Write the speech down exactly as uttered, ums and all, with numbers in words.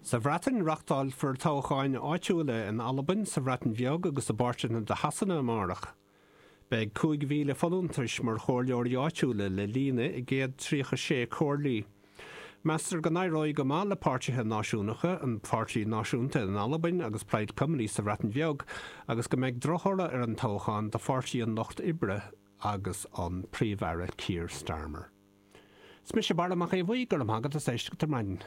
Sa Bhreatain reáchtálfar toghcháin áitiúla in Albain sa Bhreatain Bheag agus i bpáirteanna de Shasana amárach. Beidh cúig mhíle folúntais mar chomhairleoirí áitiúla le líonadh i gcéad tríocha sé comhairlí. Meastar go n-éireoidh go maith le páirtithe náisiúnacha an Pháirtí Náisiúnta in Albain agus Plaid Cymru sa Bhreatain Bheag agus go mbeidh drochthoradh ar an toghchán do Pháirtí an Lucht Oibre agus an Príomh-Aire Keir Starmer. Is mise Barra Mac Aodha Bhuí go raibh maith agat as éisteacht ar maidin.